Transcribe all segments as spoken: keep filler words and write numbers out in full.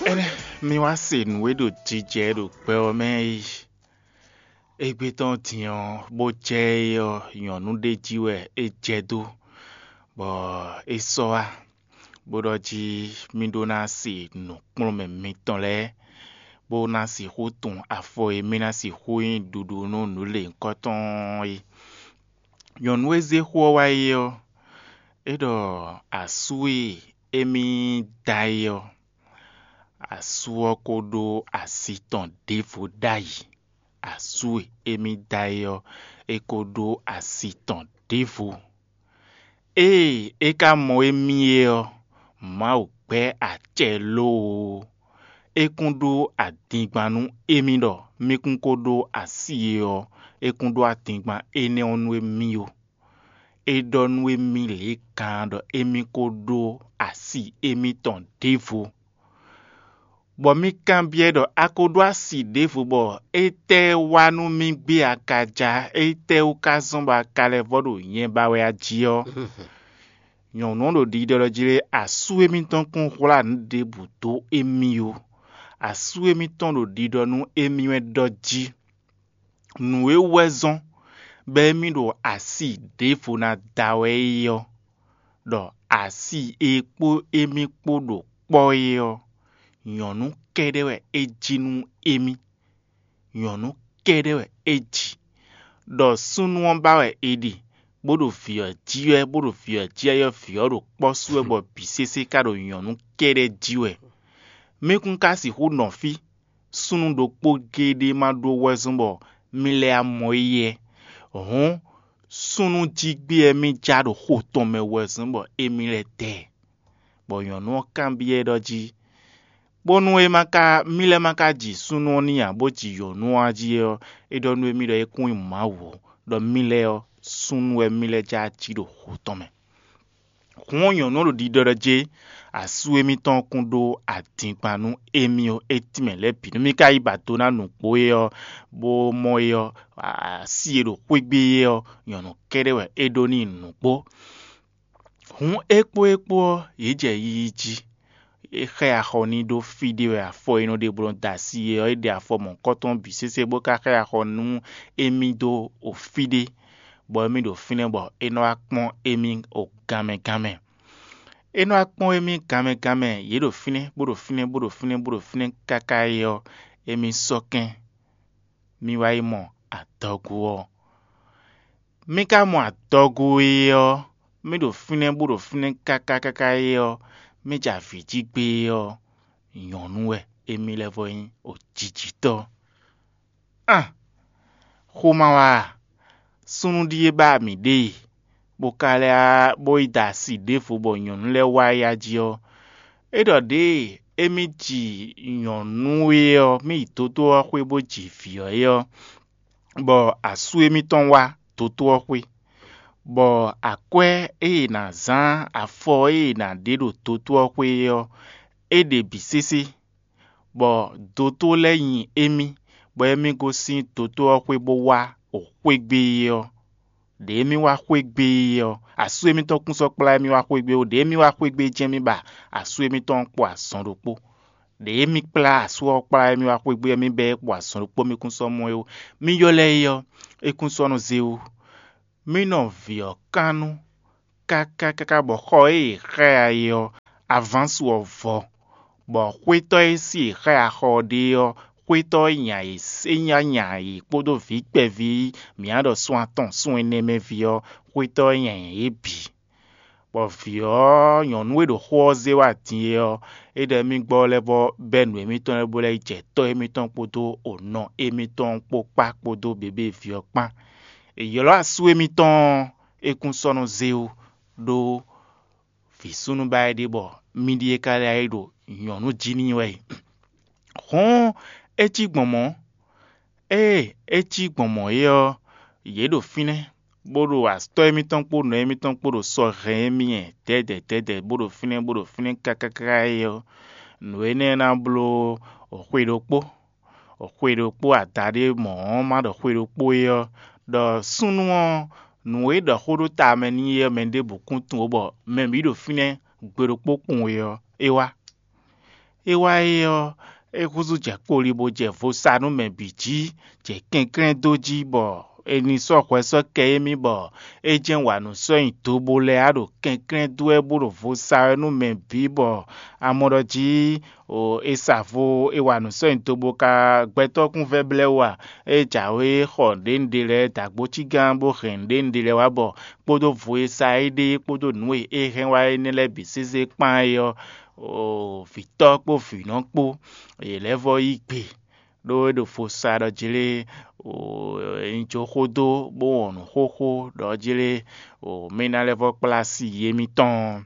Énɛ́ mi wá se nǔ e ɖo jijɛ ɖo gbɛ ɔ́ mɛ é. Égbé tɔn din ɔ́, bó jɛ é ɔ́, nyɔ̌nu ɖé jí wɛ é jɛ dó, bɔ é sɔ́ wá, bó ɖɔ jí mì ɖó ná se nǔkplɔ́nmɛ mitɔn lɛ́ɛ, bó ná sixú tun afɔ e mì ná sixú nyi ɖuɖu nú nǔ lěhunkɔtɔn ɔ́ é. Nyɔ̌nu e zé xó ɔ́ wá é ɔ́, é ɖɔ asú e émí da é ɔ́, asú ɔ́ ko ɖó asi tɔn ɖěvo ɖ'ayǐ. Asú e émí da é ɔ́, é ko ɖó asi tɔn ɖěvo. Ée é ka mɔ émí é ɔ́, Mawu gbɛ́ acɛ lóoo. É kún ɖó adingban nú émí ɖɔ mí kún ko ɖó asi é ɔ́, é kún ɖó adingban énɛ́ ɔ́ nú émí ó. É ɖɔ nú émí lě e gán ɖɔ émí ko ɖó asi émítɔn ɖěvo. Bɔ mì kanbyɔ́ ɖɔ a ko ɖó asi ɖěvo bɔ étɛ́ wá nú mì gbé a ka ja, étɛ́ wú ka zɔ́n bɔ a ka lɛ́ vɔ́ ɖo nyɛ ba wɛ a jí ɔ́? Nyɔ̌nu ɔ́ ɖo ɖiɖɔ ɖɔ jí lé, asú émítɔn kún hwlá nǔ ɖěbǔ dó émí ó. Asú émítɔn ɖo ɖiɖɔ nú émí wɛ ɖɔ jí nǔ e wɛ zɔ́n bɔ émí ɖo asi ɖěvo ná da wɛ é ɔ́, ɖɔ asi e kpó émí kpó ɖo kpɔ́ é ɔ́, nyɔ̌nu kɛ́ɖɛ́ wɛ é jí nú émí. Nyɔ̌nu kɛ́ɖɛ́ wɛ é ji, ɖɔ súnnu ɔ́ ba wɛ è ɖe, bó ɖo vǐ ɔ́ jí wɛ, bó ɖo vǐ ɔ́ jí wɛ, vǐ ɔ́ ɖo kpɔ́ sú wɛ, bɔ bǐ sésé ka ɖo nyɔ̌nu kɛ́ɖɛ́ jí wɛ. Mí kún ka sixú nɔ fí, súnnu ɖokpó géɖé ma ɖó wɛzɔ́n bɔ mí lɛ́ amɔ éyɛ́. Hǔn súnnu jí gbé wɛ mí já ɖo xo tɔn mɛ wɛzɔ́n bɔ émí lɛ́ dɛ ɛ. Bɔ nyɔ̌nu ɔ́ kanbyɔ́ ɛ ɖɔ jí, bónú é ma ka mí lɛ́ ma ka ji súnnu ɔ́ n'i ǎ, bó ji nyɔ̌nu ɔ́ jí ɔ́, é ɖɔ nú émí ɖɔ é kún nyí Mawu, ɖɔ mí lɛ́ɛ ɔ́, súnnu wɛ mí lɛ́ já jí ɖo xo tɔn mɛ. Hǔn ɔ́, nyɔ̌nu ɔ́ ɖo ɖiɖɔ ɖɔ jé, asú émítɔn kún ɖó adingban nú émí ɔ́, é tínmɛ lɛ́ɛ bǐ nú mí ka yi ba do ná nǔgbó é ɔ́, bó mɔ é ɔ́, así e ɖo xwé gbe é ɔ́, nyɔ̌nu kɛ́ɖɛ́ wɛ é ɖó n'i nǔgbó. Hǔn é kpó é kpó ɔ́, yě jɛ yiyi jí. É xá ɛ axɔ n'i ɖó fí ɖé wɛ afɔ e nɔ ɖe bló da asi é ɔ́, é ɖe afɔ mɔ̌hunkɔtɔn bǐ sésé bó ka xá ɛ axɔ nú émí dó o fí ɖé, bɔ émí ɖo fínɛ́ bɔ é nɔ wá kpɔ́n émí o ganmɛ ganmɛ. É nɔ wá kpɔ́n émí ganmɛ ganmɛ, yě ɖo fínɛ́, bó ɖo fínɛ́, bó ɖo fínɛ́, bó ɖo fínɛ́ káká é ɔ́, émí sɔ́ kɛ́n. Mi wá yi mɔ adɔgo ɔ́. Mi ka mɔ adɔgo e ɔ́, mi ɖo fínɛ́ bó ɖo fínɛ́ káká káká é ɔ́, mi jɛ avǐ jí gbé é ɔ́, nyɔ̌nu wɛ émí lɛ́ vɔ nyí ojijitɔ́. An! Xó ma wá a? Súnnu ɖíe ba mǐ ɖe e, bó ka lɛ́ bó yi da asi ɖěvo bɔ nyɔ̌nu lɛ́ɛ wá ya jí ɔ́, é ɖɔ ɖěe émí ji nyɔ̌nu é ɔ́, mí yi dótó ɔ́ xwé bó ji vǐ ɔ́ é ɔ́, bɔ asú émítɔn wá dótó ɔ́ xwé, bɔ akwɛ́ e è nǎ zán afɔ e è nǎ ɖe ɖo dótó ɔ́ xwé é ɔ́, é ɖe bǐ sésé, bɔ dótó lɛ́ɛ nyi émí, bɔ émí gosín dótó ɔ́ xwé bó wá xwé gbe é ɔ́. Ɖě émí wá xwé gbe é ɔ́, asú émítɔn kún sɔ́ kplá émí wá xwé gbe ó. Ɖě émí wá xwé gbe é jɛ́n mì ba asú émítɔn ɔ́ kpo azɔn ɖokpó. Ɖě émí kplá asú ɔ́ kplá émí wá xwé gbe ɔ́, mì bɛ́ ɛ kpo azɔn ɖokpó, mì kún sɔ́ mɔ ɛ ó. Mì ylɔ́ ɛ é ɔ́, é kún sɔ́ nɔ zé ó. Mì nɔ vǐ ɔ́ kan nú káká káká bɔ xɔ e è xá ɛ é ɔ́, avánsu ɔ́ vɔ, bɔ xwétɔ́ e sí è xá ɛ axɔ ɔ́ ɖe ɔ́, xwétɔ́ e nya yě é nya nya yě kpódó vǐ kpɛví mǐ á ɖɔ sun atɔn sun ɛnɛ mɛ ví ɔ́, xwétɔ́ e nya nya yě bǐ. Bɔ vǐ ɔ́ nyɔ̌nu e ɖo xó ɔ́ zé wá din é ɔ́, é ɖɔ émí gbɔ lɛ́ vɔ bɛ́ nǔ émítɔn lɛ́ɛ bó lɛ́ yi jɛ tɔ́ émítɔn kpódó onɔ émítɔn kpó kpá kpódó běbé ví ɔ́ kpán. È ylɔ́ asú émítɔn ɔ́, é kún sɔ́ nɔ zé ó, ɖó vǐ súnnu ba é ɖe bɔ mì ɖíe ka lɛ́ yi ɖo nyɔ̌nu jí n'i wɛ e. Hǔn é cí gbɔn mɔ̌. Ée é cí gbɔn mɔ̌ é ɔ́, yě ɖo fínɛ́, bó ɖo atɔ́ émítɔn kpó nɔ émítɔn kpó ɖo sɔ hɛn émí nyi dɛ̌dɛ̌ dɛ̌dɛ̌ bó ɖo fínɛ́ bó ɖo fínɛ́ káká káká é ɔ́, nǔ énɛ́ ná bló xwe ɖokpó. Xwe ɖokpó adaɖé mɔ̌ ɔ́ ma ɖɔ xwe ɖokpó é ɔ́, ɖɔ súnnu ɔ́, nǔ e ɖɔ xó ɖó ta mɛ n'i é ɔ́, mɛ ɖěbǔ kún tunwun ó, bɔ mɛ bǐ ɖo fínɛ́ gbe ɖokpó kpowun é ɔ́, é wá. É wá é ɔ́, é húzú jɛ kpoli bó jɛ vo sa nú mɛ bǐ jí, jɛ kɛnklɛ́n dó jí bɔ è nǐ sɔ́ hwɛ sɔ́ kɛ émí bɔ é jɛ́n wa nǔ sɔ́ nyi do bó lɛ́ɛ á ɖo kɛnklɛ́n dó wɛ bó ɖo vo sa wɛ nú mɛ bǐ bɔ a mɔ ɖɔ jí è sa vo è wa nǔ sɔ́ nyi do bó ka gbɛtɔ́ kún vɛ́ blɛ́ wú a? É jǎwe xɔ nǔɖénúɖé lɛ́ɛ dǎgbócígán bó hɛn nǔɖénúɖé lɛ́ɛ wá bɔ kpódó vo e sa é ɖe kpódó nǔ e é hɛn wá énɛ́ lɛ́ɛ bǐ sésé kpán é ɔ́, vǐtɔ́ kpó vǐnɔ kpó, yě lɛ́ vɔ́ yí gbe, ɖó é ɖo fo sa ɖɔ jlé, un jó xó dó bó wɔn nǔ xóxó ɖɔ jlé, mì ná lɛ́ vɔ́ kplá si yě mitɔn.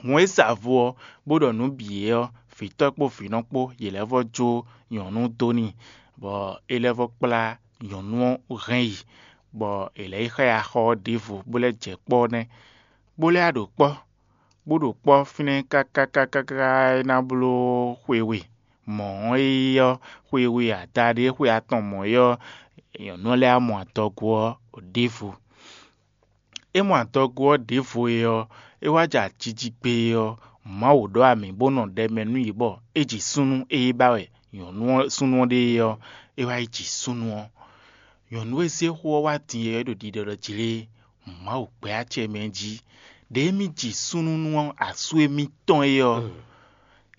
Hǔn e sa vo ɔ́, bó ɖɔ nǔ bǐ é ɔ́, vǐtɔ́ kpó vǐnɔ kpó, yě lɛ́ vɔ́ jó nyɔ̌nu dó n'i, bɔ é lɛ́ vɔ́ kplá nyɔ̌nu ɔ́ hɛn yi, bɔ è lɛ̌ yi xá ya xɔ ɔ́ ɖěvo, bó lɛ́ jɛ kpɔ́ nɛ́, bó lɛ́ ya ɖo kpɔ́, bó ɖo kpɔ́ fínɛ́ káká káká káká é ná bló xwe we. Mɔ̌ ɔ́, é ɔ́, xwe we adaɖé xwe atɔn mɔ̌ é ɔ́, nyɔ̌nu ɔ́ lɛ́ wá mɔ adɔgo ɔ́ ɖěvo. É mɔ adɔgo ɔ́ ɖěvo é ɔ́, é wá jɛ ajiji gbe é ɔ́, Mawu ɖɔ amǐ bó nɔ ɖɛ mɛ nú yě bɔ é ji súnnu e é ba wɛ nyɔ̌nu ɔ́ súnnu ɔ́ ɖe é ɔ́, é wá yi ji súnnu ɔ́. Nyɔ̌nu e zé xó ɔ́ wá din é ɖo ɖiɖɔ ɖɔ jlé Mawu gbɛ́ acɛ mɛ jí. Ɖěe mì ji súnnu nú asú émítɔn é ɔ́,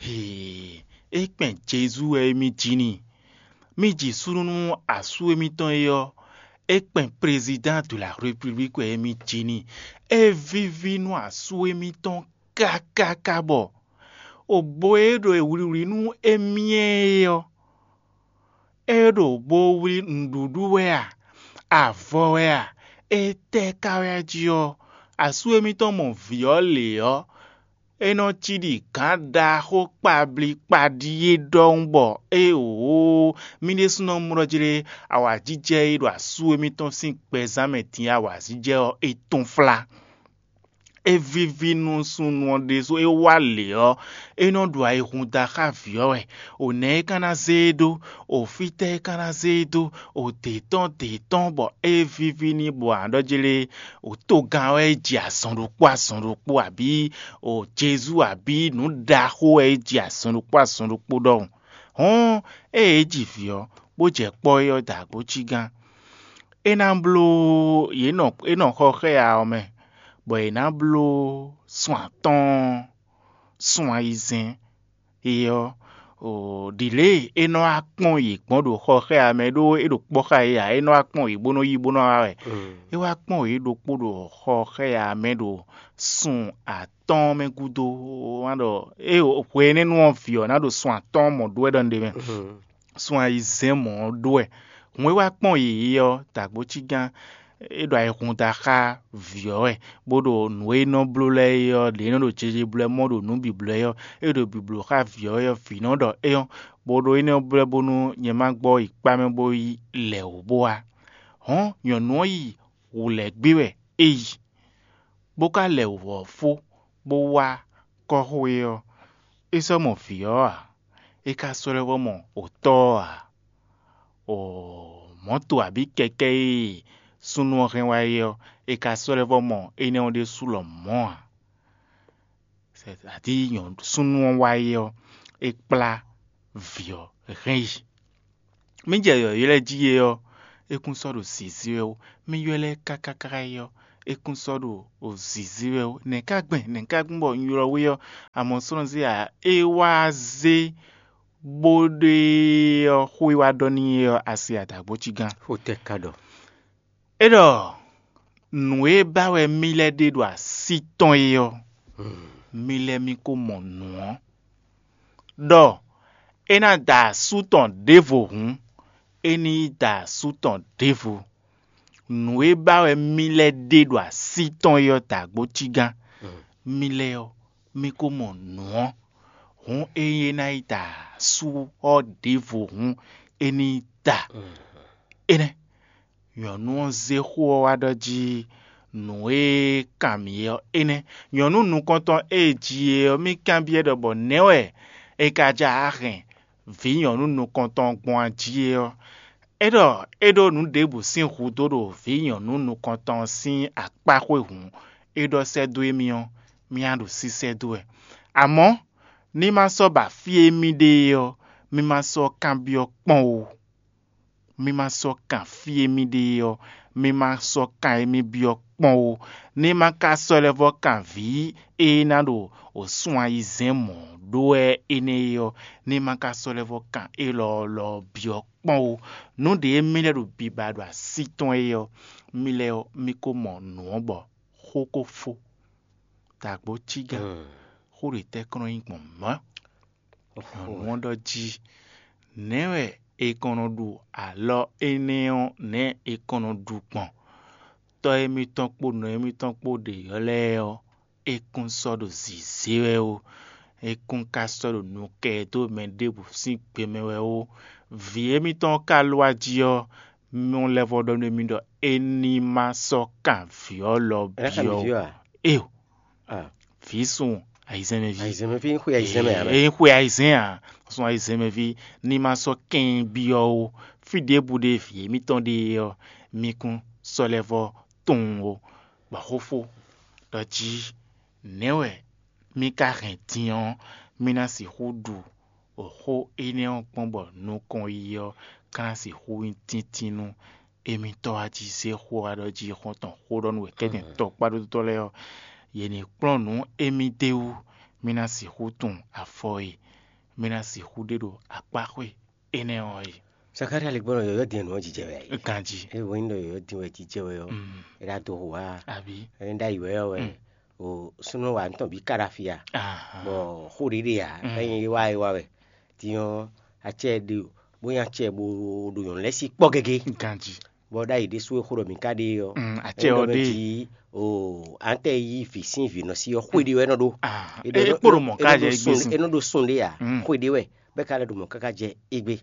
hee, é kpɛn Jezu wɛ émí ji n'i. Mì ji súnnu nú asú émítɔn é ɔ́, é kpɛn Président de la République wɛ émí ji n'i. É víví nú asú émítɔn kákáká bɔ ogbo e ɖo wlǐwlí nú émí é ɔ́, é ɖo bó wlí nǔɖuɖu wɛ a? Avɔ wɛ a? Étɛ́ ka wɛ jí ɔ́? Asú émítɔn mɔ vǐ ɔ́ lě ɔ́, é nɔ cí ɖi gǎn ɖaxó kpablí kpaɖí é ɖɔhun bɔ éeǒ, mì ɖésúnɔ mlɔ́ jlé awǎjijɛ e ɖo asú émítɔn sín gbɛzán mɛ din awǎjijɛ ɔ́, é tɔ́n flá. É víví nú súnnu ɔ́ ɖésú é wá lě ɔ́, é nɔ ɖu ayihún da xá vǐ ɔ́ wɛ. O nɛ̌ é ka ná zé e dó? O fítɛ́ é ka ná zé e dó? O dě tɔn dě tɔn bɔ é víví n'i bɔ a nǎ ɖɔ jlé o togán wɛ é ji azɔn ɖokpó azɔn ɖokpó abǐ o Jezu abǐ nǔ ɖaxó wɛ é ji azɔn ɖokpó azɔn ɖokpó ɖɔhun. Hɔ̌n, ée é ji vǐ ɔ́, bó jɛ kpɔ́ é ɔ́ da gǒ cí gán. É ná bló yě nɔ é nɔ xɔ xá ya ɔ́ mɛ, bɔ yě ná bló sun atɔ́ɔ́n, sun ayizɛ́n é ɔ́, ɖǐlée é nɔ wá kpɔ́n yě gbɔn ɖo xɔ xá ya mɛ ɖó é ɖo kpɔ́ xá yě ǎ, é nɔ wá kpɔ́n yě bó nɔ́ yí bó nɔ́ wá wɛ. É wá kpɔ́n yě ɖokpó ɖo xɔ xá ya mɛ ɖo sun atɔ́ɔ́n mɛ gúdo, wá ɖɔ é hwe énɛ́ nú ɔ́ vǐ ɔ́ ná ɖo sun atɔ́ɔ́n mɔ̌ ɖó wɛ ɖɔ un ɖe mɛ. Sun ayizɛ́n mɔ̌ ɔ́ ɖó wɛ. Hǔn e wá kpɔ́n yě ɔ́, dǎgbócígán é ɖo ayihún da xá vǐ ɔ́ wɛ, bó ɖo nǔ e nɔ bló lɛ́ɛ é ɔ́, ɖě nɔ ɖo jeje bló ɛ mɔ ɖo nǔ bǐ bló ɛ ɔ́, é ɖo bǐbló xá vǐ ɔ́ wɛ ɔ́, vǐ nɔ ɖɔ é ɔ́, bó ɖó énɛ́ ɔ́ blɛ́ bónú nyɛ má gbɔ yi kpá mɛ bó yi lɛ wǔ bó wá. Hɔ̌n nyɔ̌nu ɔ́ yi wǔ lɛ́ gbé wɛ é yi, bó ka lɛ wǔ ɔ́ fó, bó wá kɔ́xo é ɔ́, é sɔ́ mɔ vǐ ɔ́ ǎ, é ka sɔ́ lɛ́ vɔ́ mɔ otɔ́ ɔ́ ǎ. O mɔ̌to abǐ kɛkɛ́ e súnnu ɔ́ hɛn wá é ɔ́, è ka sɔ́ lɛ́ vɔ́ mɔ énɛ́ ɔ́ ɖésú lɔmɔ̌ ǎ. Sɛ́dí súnnu ɔ́ wá é ɔ́, é kplá vǐ ɔ́ hɛn yi. Mí jɛ yɔ̌yɔ́ lɛ́ɛ jí é ɔ́, é kún sɔ́ ɖo zǐzí wɛ ó. Mí ylɔ́ ɛ kákáká é ɔ́, é kún sɔ́ ɖo zǐzí wɛ ó. Nɛ̌ ká gbɛn, nɛ̌ ká gbɛn bɔ un ylɔ́ we ɔ́, amɔ̌ slɔ́nzí ǎ, é wá zé bó ɖe ɔ́, xó e wá ɖɔ n'i é ɔ́, a se adǎgbócígán. Xó tɛ́ ka ɖɔ? É ɖɔ nǔ e ba wɛ mí lɛ́ ɖe ɖo así tɔn é ɔ́, mí lɛ́ mí ko mɔ nǔ ɔ́, ɖɔ é ná da asú tɔn ɖěvo hǔn, é ní yi da asú tɔn ɖěvo. Nǔ e ba wɛ mí lɛ́ ɖe ɖo así tɔn é ɔ́ da gbo cí gán. Mí lɛ́ɛ ɔ́, mí ko mɔ nǔ ɔ́, hǔn ényí é ná yi da asú ɔ́ ɖěvo hǔn, é ní yi da. Énɛ́, nyɔ̌nu ɔ́ zé xó ɔ́ wá ɖɔ jí nǔ e kan mì é ɔ́ énɛ́. Nyɔ̌nu nukɔntɔn e ji é ɔ́, mì kanbyɔ́ ɖɔ bɔ nɛ̌ wɛ è ka ja hɛn vǐ nyɔ̌nu nukɔntɔn gbɔn ají é ɔ́? É ɖɔ é ɖó nǔ ɖěbǔ sín hudó ɖo vǐ nyɔ̌nu nukɔntɔn ɔ́ sín akpá xwé hǔn, é ɖɔ sɛ́ dó émí ɔ́, mì a ɖo sísɛ́ dó wɛ. Amɔ̌, Ní ma sɔ́ ba fí e mì ɖe é ɔ́, mi ma sɔ́ kanbyɔ́ kpɔ́n ó. Mi ma sɔ́ kan fí e mì ɖe é ɔ́, mi ma sɔ́ kan e mì byɔ́ kpɔ́n ó. Ní ma ka sɔ́ lɛ́ vɔ́ kan vǐ e ná ɖo wǒsun ayizɛ́n mɔ̌ ɖó wɛ énɛ́ é ɔ́, ní ma ka sɔ́ lɛ́ vɔ́ kan élɔ́ lɔ byɔ́ kpɔ́n ó. Nǔ ɖě e mì lɛ́ ɖo biba ɖo así tɔn é ɔ́, mi lɛ́ ɔ́, mi ko mɔ nǔ ɔ́ bɔ xó ko fó. Dǎgbó cígán, xó ɖě tɛ́ kɔn nɔ nyí gbɔn mɔ̌? Nyɔ̌nu ɔ́ ɖɔ jí: Nɛ̌ wɛ è kɔn nɔ ɖu alɔ énɛ́ ɔ́, nɛ̌ è kɔn nɔ ɖu gbɔn? Tɔ́ émítɔn kpó nɔ émítɔn kpó ɖě ɔ́ lɛ́ɛ ɔ́, é kún sɔ́ ɖo zǐzé wɛ ó; é kún ka sɔ́ ɖo nu kɛ dó mɛ ɖěbǔ sín gbe mɛ wɛ ó. Vǐ émítɔn ɔ́ ka ló wá jí ɔ́, mɔ lɛ́ vɔ́ ɖɔ nú émí ɖɔ é ní ma sɔ́ kan vǐ ɔ́ lɔ byɔ́ ó. Éo, vǐ sun ayizɛ́nmɛví. Ayizɛ́nmɛví, xwe ayizɛ́nmɛ ǎ. É nyí xwe ayizɛ́n ǎ, sun ayizɛ́nmɛví ní ma sɔ́ kɛn byɔ́ ó. Fí ɖěbǔ ɖe vǐ émítɔn ɖe é ɔ́, mi kún sɔ́ lɛ́ vɔ́ tunwun ó. Bɔ xó fó ɖɔ jí: Nɛ̌ wɛ mì ka hɛn din ɔ́, mì ná sixú ɖu xó énɛ́ ɔ́ kpɔ́n bɔ nukɔn yiyi ɔ́ ka ná sixú nyí tíntín nú émítɔ́ wá jí zé xó wá ɖɔ jí xɔ́ntɔn xó ɖɔ nú wěkɛ́tɛn tɔkpá ɖótɔ́ lɛ́ɛ ɔ́, yě ní kplɔ́n nǔ émí d'é wú, mì ná sixú tunwun afɔ e mì ná sixú ɖe ɖo akpáxwé énɛ́ ɔ́ é. Zakalía lɛ́ gbɔn ɖɔ yɔ̌yɔ́ din wɛ nǔ ɔ́ jijɛ wɛ a? Ganjí. É wɛ nyí ɖɔ yɔ̌yɔ́ din wɛ jijɛ wɛ ɔ́, é ɖo ado xo wá a? Abǐ? É nyí ɖ'ayǐ wɛ ɔ́ wɛ. O súnnu wa nǔ tɔn bǐ ká ɖo afi a? Bɔ xó ɖě ɖe ǎ, é nyí é wá é wá wɛ. Din ɔ́, acɛ ɖe bó nyí acɛ bó ɖo nyɔ̌nu lɛ́ɛ sí kpɔ́ gégé. Ganjí. Bɔ ɖ'ayǐ ɖésú e xó ɖɔ mǐ ka ɖe é ɔ́, acɛ ɔ́ ɖe jí o ǎntɛ yí vǐ sín vǐ nɔ sí ɔ́, xwé ɖé wɛ é nɔ ɖó. É kpo ɖo mɔ̌ ká jɛ égbé sín. É nɔ ɖó sun ɖé ǎ, xwé ɖé wɛ bɛ́ ka lɛ́ ɖo mɔ̌ káká jɛ égbé.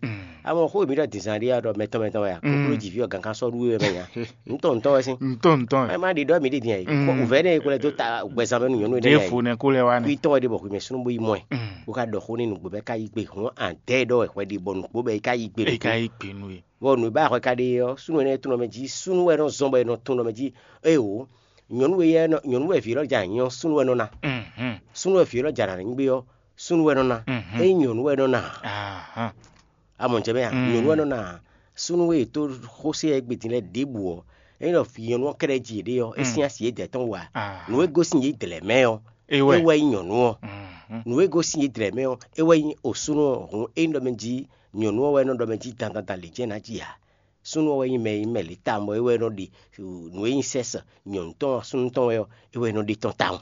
Amɔ xó e mǐ ɖɔ dǐnzán ɖé ɔ́ ɖɔ mɛtɔn mɛtɔn wɛ a? Koklójǐví ɔ́ gǎn ká sɔ́ ɖú we wɛ mɛ nya. Ntɔn ntɔn wɛ sín. Ntɔn ntɔn wɛ. Má ɖi ɖɔ mǐ ɖi din ɛ. Wǔvɛ́ nɛ e ko lɛ́ dó ta gbɛzán mɛ nú nyɔ̌nu énɛ́. Ɖěvo nɛ kó lɛ wá nɛ. Kwítɔ́ wɛ ɖe bɔ xwimɛ súnnu bó yi mɔ ɛ. Bó ka ɖɔ xó n'i nǔgbó bɛ́ ka yí gbe hɔn adɛ́ ɖɔ wɛ hwɛ ɖi bɔ nǔgbó bɛ́ yi ka yí gbe. É ka yí gbe nú we. Bɔ nǔ e ba hwɛ ka ɖe ɔ́, súnnu énɛ́ e tunwun mɛ jí, súnnu wɛ nɔ zɔn bɔ è nɔ tunwun mɛ jí. Éeǒ, nyɔ̌nu e nyɔ̌nu wɛ vǐ élɔ́ ja nyɔ súnnu wɛ nɔ ná. Súnnu wɛ vǐ élɔ́ ja nǎ nyí gbé ɔ́, súnnu wɛ nɔ ná. Ényí nyɔ̌nu wɛ nɔ ná, a mɔ jɛ mɛ a? Nyɔ̌nu wɛ nɔ ná. Súnnu e tó xósé ɛ gbedin lɛ́ɛ ɖěbǔ ɔ́, ényí ɖɔ vǐ nyɔ̌nu ɔ́ kɛ́ɖɛ́ ji yěɖée ɔ́, é sín asi yědɛɛ tɔn wú ǎ. Nǔ e gosín yě dlɛ̌ mɛ ɔ́, é wɛ nyí nyɔ̌nu ɔ́. Nǔ e gosín yě dlɛ̌ mɛ ɔ́, é wɛ nyí osúnɔ ɔ́. Hǔn ényí ɖɔ mɛ jí nyɔ̌nu ɔ́ wɛ nɔ ɖɔ mɛ jí dandan dan lě jɛ́n ná ji ǎ. Súnnu ɔ́ wɛ nyí mɛ e nyí mɛ lě tawun bɔ é wɛ nɔ ɖe nǔ e nyí sɛ́sɛ nyɔ̌nu tɔn súnnu tɔn wɛ ɔ́, é wɛ nɔ ɖe tɔn tawun.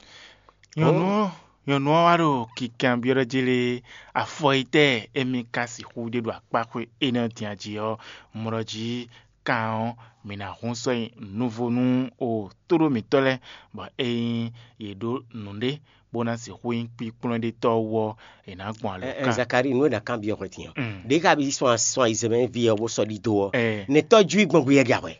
Nyɔ̌nu ɔ́, nyɔ̌nu ɔ́ wá ɖo kinkanbyɔ́ ɖɔ jí lé, afɔ e tɛ́ émí ka sixú ɖe ɖo akpáxwé énɛ́ ɔ́ din jí ɔ́, mlɔ jí kan ɔ́, mǐ ná hun sɔ́ nyi nuvo nú o tóɖó mǐtɔn lɛ́ɛ, bɔ ényí yě ɖó nǔɖé bó ná sixú nyí kpíkplɔ́nɖétɔ́ wú ɔ́, è nǎ gbɔn alɔ Ɛ, ɛ, kan. Zakalíi, nú è nǎ kanbyɔ́ hwɛ din ɔ́, Mm. Ɖě ka bí sɔn sɔn ayizɛ́n mɛ ví ɔ́ bó sɔ́ ɖidó ɔ́, Ɛ. Nɛ̌ tɔ́jú i gbɔn gbé yɛ ja hwɛ?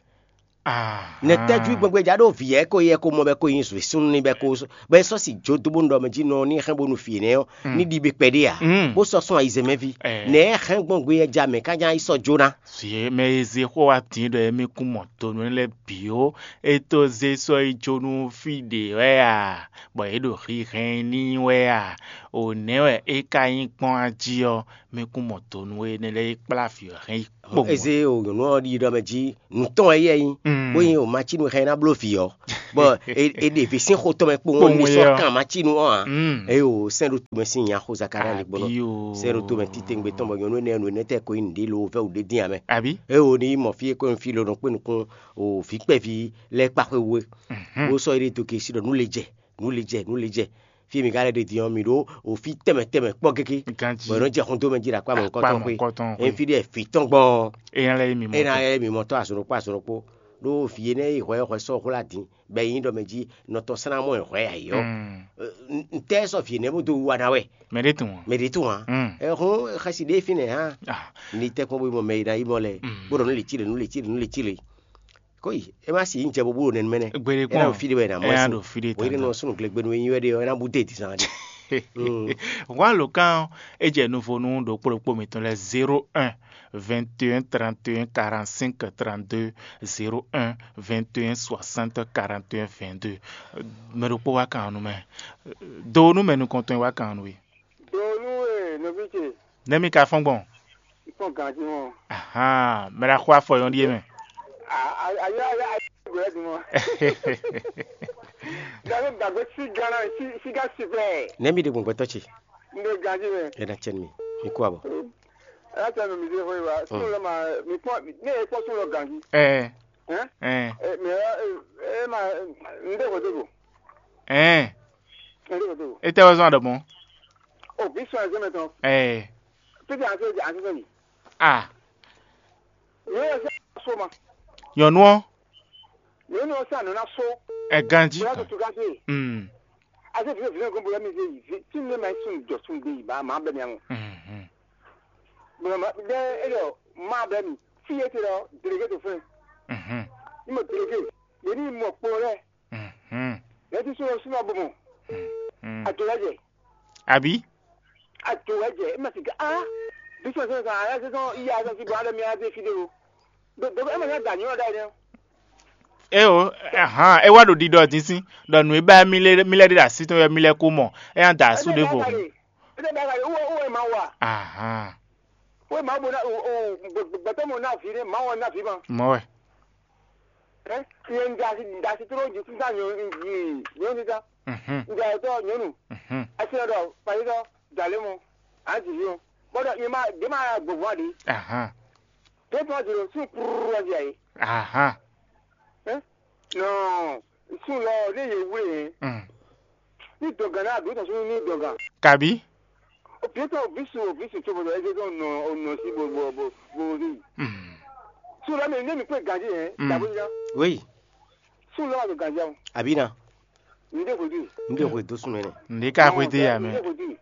Ah, Nɛ̌ tɔ́jú i gbɔn gbé ja ɖó vǐ yɛ ko yɛ ko mɔ bɛ ko nyi zwe súnnu ní bɛ ko bɛ sɔ́ si jó dó bó nɔ ɖɔ mɛ jí nɔ ní hɛn bónú vǐ énɛ́ ɔ́ ní ɖi bɛ kpɛɖé ǎ, Mm. bó sɔ́ sɔn ayizɛ́n mɛ ví. Ɛ. Nɛ̌ hɛn gbɔn gbé yɛ ja mɛ ká nya yi sɔ́ jó ná? Zě mɛ e zé xó wá din ɖɔ émí kún mɔ tonu lɛ́ɛ bǐ ó, é tó zé sɔ́ yi jó nú fí ɖě wɛ a, bɔ yě ɖo hihɛn n'i wɛ a? O nɛ̌ wɛ é ka nyí kpɔ́n a jí ɔ́, mí kún mɔ tonu énɛ́ lɛ́ɛ yi kplá vǐ ɔ́ hɛn yi kpowun. Eze o nyɔ̌nu ɔ́ ɖi ɖɔ mɛ jí nǔ tɔn wɛ yɛ nyí, Mm. bó nyí o macínu hɛn ná bló vǐ ɔ́, bɔ è è ɖe vǐ sín xó tɔn mɛ kpowun Kpowun ní é sɔ́ ɔ́. Kan macínu ɔ́ ǎ. Mm. Eye o sɛ́n ɖo tomɛ sín nya xó Zakalía lě gbɔn Àbí o. Sɛ́n ɖo tomɛ títewungbe tɔn bɔ nyɔ̌nu énɛ́ nǔ énɛ́ tɛ ko nyí nǔɖé lo vɛ́ wǔ ɖé dín ǎ mɛ. Àbí? Eye o ní mɔ fí e ko nyí fí lɔnà kpé nukún o vǐ kpɛví lɛ́ɛ kpáxwé wú é. Mhm. Bó sɔ́ yi ɖe dó gěsí ɖɔ nǔ le jɛ, nǔ le jɛ, nǔ le jɛ. Fí e mǐ ka lɛ́ ɖe din ɔ́, mǐ ɖó o fí tɛnmɛ tɛnmɛ kpɔ́ gégé. Ganjí. Bɔ è nɔ́ jɛ xɔ́ntɔn mɛ jí ɖo akpá mɔ̌hunkɔtɔn Akpá xwé. Mɔ̌hunkɔtɔn xwé. Ényí fí ɖé fǐ tɔn gbɔn ɔ́, É ná lɛ́ nyí mǐ é ná mɔtɔn. Lɛ́ mǐ mɔtɔn azɔn ɖokpó azɔn ɖokpó. Ɖó vǐ énɛ́ e hwɛ ɔ́ hwɛ sɔ́ hwlá din, bɔ é nyí ɖɔ mɛ jí nɔ tɔn sɛ́n ná mɔ ɛ hwɛ ayǐ ɔ́. Mm. Ɛ, n- Ntɛ́ sɔ́ vǐ énɛ́ bó dó wú wa ná wɛ? Mɛ ɖé tun ǎ. Mɛ ɖě tun ǎ. Mm. Ɛ, hɔn xɛsi ɖé fínɛ́ hã. Ah. Ní tɛ́ kpɔ́n bó mɔ mɛ e ná yi mɔ lɛ. Mm. Bó ɖɔ nú lě cí lě, nú lě cí lě, nú lě cí lě. Kó yi, é má si nyí jɛ bó bó ɖo nɛnú mɛ nɛ́. Gbeɖé É ná kpɔ́n. Ɖo fí ɖé wɛ ná mɔ É ná ɛsìn. Ɖo fí ɖé Wǒ yi ɖe tantɔn. Nɔ súnnu glegbenu e nyí wɛ ɖe ɔ́, é ná bú dé dǐzan ɖe. Hwan lǒkan ɔ́, é jɛ nuvonu ɖo kplɔ́kpó mǐtɔn lɛ́ɛ zéro un, vingt et un, trente et un, quarante-cinq, trente-deux, zéro un, vingt et un, soixante, quarante et un, vingt-deux. Mɛ ɖokpó wá kan nú mɛ. Do nú mɛ nukɔntɔn e wá kan nú we. Vítě, Nɛ́ mì ka fɔ́n gbɔn? Kpɔ́n ganjí mɔ. Ahan, mɛ ɖaxó afɔ nyɔ́ ɖíe mɛ. Ayɔ ayɔ ayɔ gbɛ̌ dùn mɔ. Gàdó gàgbé sí gánà sí sí gá sí bẹ́ẹ̀. Nɛ́ mì ɖe gbɔn gbɛtɔ́ ce? N ɖe ganjí mɛ. Ɛ na cɛ nú mi. Mi kú abɔ. Ɛ na cɛ nú mi dé fún wa. Sún lɔ ma mi kpɔ́n ne e kpɔ́n sún lɔ ganjí. Ɛ Hɛn? Ɛ Ɛ mɛ ɛ ma n ɖe xwedó go. Ɛ N ɖe xwedó go. Etɛ wɛ zɔn aɖɔmɔ. O bí sɔn ɛzɛ mɛ tɔn. Ɛ Pété àti àti sɔn mi. A Yóò sá so ma. Nyɔnu ɔ. Yóò ní o sá nɔ ná so. Ɛ ganji. Bóyá tó tu ká sí. Mm. Ase fi fi ko bóyá mi se yi tí ne ma sun jɔ sun de yi ba ma bɛ mi àwọn. Mhm. Bóyá ma dɛ e lɔ ma bɛ mi fi e te lɔ délégué tó fún. Mhm. Ni mo délégué. Yé ni mo kpo lɛ. Mhm. Yé ti sún lọ sún lọ bò mɔ. Mhm. Àjò lɛ jẹ. Àbí? Àjò lɛ jẹ. E ma ti ká ah. Bí sọ sọ sọ ayé sọ iya sọ sí bọ alẹ mi ayé fi de o. Dɔgɔ e ma nya da nyɔ da yɛ. E o, ahan, e wá ɖo ɖiɖɔ din sín, ɖɔ nǔ e ba mi lɛ mi lɛ ɖe ɖo así tɔn wɛ mi lɛ ko mɔ, e nya da asú ɖěvo. Ede da kali uwe uwe ma wa. Ahan. Uwe ma bo na o o gbɛtɔ mo na vi ne ma wa na vi ma. Mɔ wɛ. Ɛ yɛ n da si da si tro ji sísá nyɔ n ji nyɔ sísá. Mhm. N da yɛ tɔ nyɔnu. Mhm. Asi yɛ dɔ pali dɔ dalé mo. A ti vi o. Bɔdɔ yɛ ma de ma gbogbo a di. Ahan. Tó tún wá jùlọ sún kúrúrú wá di àyè. Ahan. Ɛ nɔ sún lɔ ní yẹ wúlò yẹn. Mm. Ní dɔ̀gàn náà àbí tɔ̀sún ní dɔ̀gàn. Kàbí? Òbí tó òbí sùn òbí sùn tó bọ̀dọ̀ ẹgbẹ́ tó nà ọ̀nà sí gbogbo gbogbo rí. Mm. Sún lọ́mọ ní mi pé gàdí yẹn. Mm. Dàbí yá. Oui. Sún lọ́wọ́ àgbẹ̀ gàdí àwọn. Àbí na. Ní dé kò dì. N de xwe dó sún mɛ nɛ. N de ka xwe dé ya mɛ. Ní dé kò dì.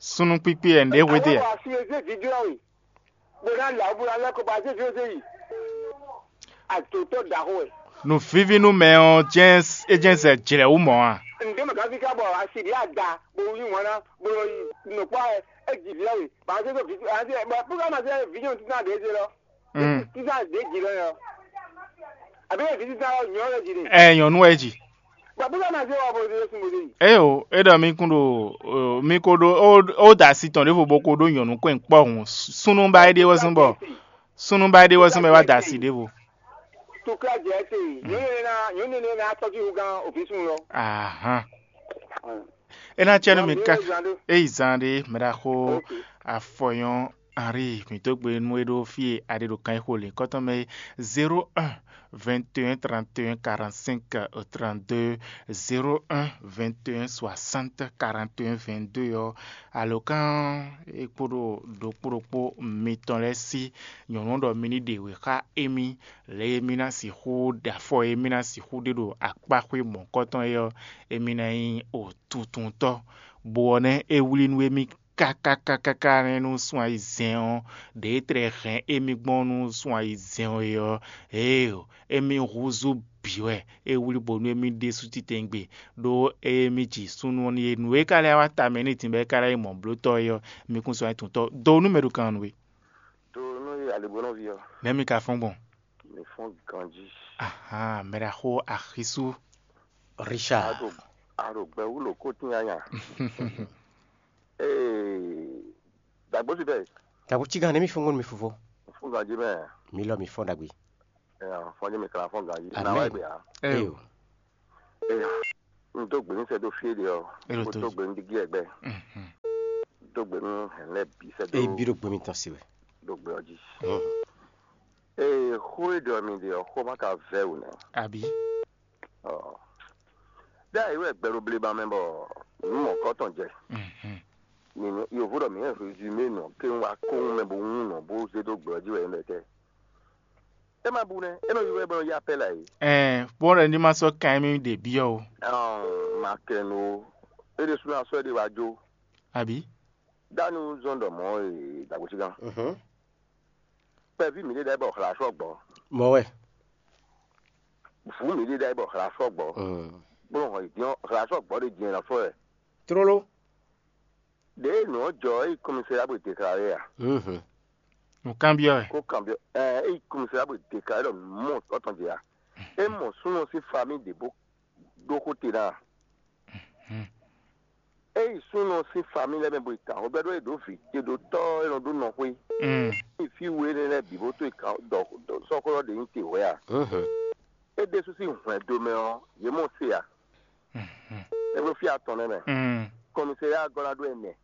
Sunu kpikpi yɛ n de xwe dé ya. Àwọn àṣìlè dé fídíò àwọn. Bó ná là ó bó ná lẹ́kọ̀ọ́ bá zé fídíò dé yìí. Àtòtọ́ dàhó ẹ̀. Nǔvíví nú mɛ ɔ́ jɛ́n é jɛ́n zɛ jlɛ̌ wú mɔ̌ a? Ǹdé mɛ gán fíká bɔ a sì bí a da bó yí wọn ná bó yí nǔkpá ɛ é jì vǐ ɔ́ wè. Bá a zé tó vǐ a zé bɔ púpọ̀ máa zé vǐ nyɔ́nu títí náà dě zé lɔ. Mm. Títí náà dě jì lɔ yɔ. Àbí ɛ vǐ títí náà nyɔ́ lɔ jì ni. Ɛ nyɔ̌nu wɛ jì. Bɔ púpọ̀ máa zé wà bó zé sún bó zé yìí. Eo, é ɖɔ mí kún ɖo mí ko ɖó ó da asi tɔn ɖěvo bó ko ɖó nyɔ̌nu kɔn kpɔ́ hǔn súnnu ba é ɖe wɛ zɔ́n bɔ súnnu ba é ɖe wɛ zɔ́n bɔ é wá da asi ɖěvo. Tukla jɛ te nyɔnu ne na nyɔnu ne na tɔjú hu gan òfin sun lɔ. Ahan. É ná cɛ nú mi ká é yi zan ɖé mɛ ɖaxó afɔyɔn Henri mǐ dó gbe nú é ɖó fí e a ɖe ɖo kan e xo lǐnkɔ́n tɔn mɛ é zéro un vingt et un trente et un quarante-cinq trente-deux, zéro un vingt et un soixante quarante et un vingt-deux ɔ́, alǒkan e kpo ɖo ɖokpó ɖokpó mitɔn lɛ́ɛ sí nyɔ̌nu ɖɔ mi ní ɖe wě xá émí, lě e mí ná sixú ɖe afɔ e mí ná sixú ɖe ɖo akpáxwé mɔ̌kɔtɔn é ɔ́, émí ná nyí o tuntuntɔ́, bó ɔ́ nɛ́ é wlí nú émí káká káká nɛ́ nú sun ayizɛ́n ɔ́, ɖě tlɛ hɛn émí gbɔn nú sun ayizɛ́n ɔ́ é ɔ́, ée émí húzú bǐ wɛ é wlí bónú émí ɖésú titewungbe, ɖó émí ji súnnu ɔ́ n'i é. Nǔ e ka lɛ́ wá ta mɛ n'i din bɔ é ka lɛ́ nyí mɔ̌blótɔ́ é ɔ́, mi kún sɔ́ nyí tuntɔ́. Do nú mɛ ɖo kan nú we. Do nú aligbɔnɔví ɔ́. Nɛ̌ mi ka fɔ́n gbɔn? Mi fɔ́n ganjí. Ahan, mɛ ɖaxó axisú. Richard. A ɖo gbɛ wú ɖo kótín anya. Ee, dàgbó ti bɛ. Dàgbó ti gan ne mi fɔ́n gbɔn mi fofo. Fún ganjí mɛ. Mi lɔ mi fɔ́n dagbe. Fɔnjɛ mi kala fɔn ganjí. Amen. Na wa gbe ya. Eyo. Eya. N tó gbé ní sɛ dó fíé de ɔ. Elo tó. Tó gbé ní digi ɛgbɛ. Tó gbé ní hɛn lɛ bí sɛ dó. Eyi bí ɖo gbé mi tɔn si wɛ. Dó gbé ɔ jí. Ee, xó e ɖɔ mi de ɔ, xó ma ka vɛ wò nɛ. Àbí. Ɔ. Dá ìwé ẹgbẹ́ ló blé ba mɛ bɔ nú mɔ kɔtɔn jɛ. Nínú yòówó ɖɔ mǐ hɛn résumé nɔ kéwún wá kóhun mɛ bó hún nɔ bó zé dó gbɛ ɔ́ jí wɛ é lɛ tɛ. É ma bu nɛ́, é nɔ ylɔ́ ɛ bɔ nɔ yá pɛ́ lɛ ǎ é. Ɛɛ, bó ɖɔ ní ma sɔ́ kan émí ɖě byɔ́ o. Ɔn, ma kɛ nu o. É ɖésú ná sɔ́ é ɖe wá jó. Àbí? Dánú zɔn ɖɔ mɔ̌ e dàgbòsígán. Mhm. Kpɛví mǐ ɖé ɖ'ayǐ bɔ hla sɔ́ gbɔ. Mɔ̌ wɛ. Vǔ mǐ ɖé ɖ'ayǐ bɔ hla sɔ́ gbɔ. Mm. Bó nɔ hɔn yě dín ɔ́, hla sɔ́ gbɔ ɖé din ɛ nɔ fɔ wɛ. Tlóló. Ɖěe nǔ ɔ́ jɔ é yi kɔmisa bó déclaré a? Mhm. Nǔkanbyɔ́ wɛ. Kó kanbyɔ́ ɛ é yi kɔmisa bó déclaré ɖɔ mɔ sɔ́ tɔn jɛ a? É mɔ súnnu sín famille ɖě bó ɖó xó te ná a? Mhm. Ényí súnnu ɔ́ sín família mɛ bo yi ta xó bɛ́ ɖó e ɖǒ vǐ ce ɖó tɔ́ e nɔ ɖó nɔxwé, Mm. ényí fí we énɛ́ lɛ́ɛ bǐ bó tó yi kan ɖɔ sɔ́xwlɔ́ ɖě nyí te hwɛ̌ a? Mhm. É ɖésú sín hwɛndo mɛ ɔ́, yě mɔ se a? Mhm. É bló fí atɔn nɛ́ mɛ. Mm. Kɔmisɛ́ya gɔ́ ná ɖó ɛnɛ.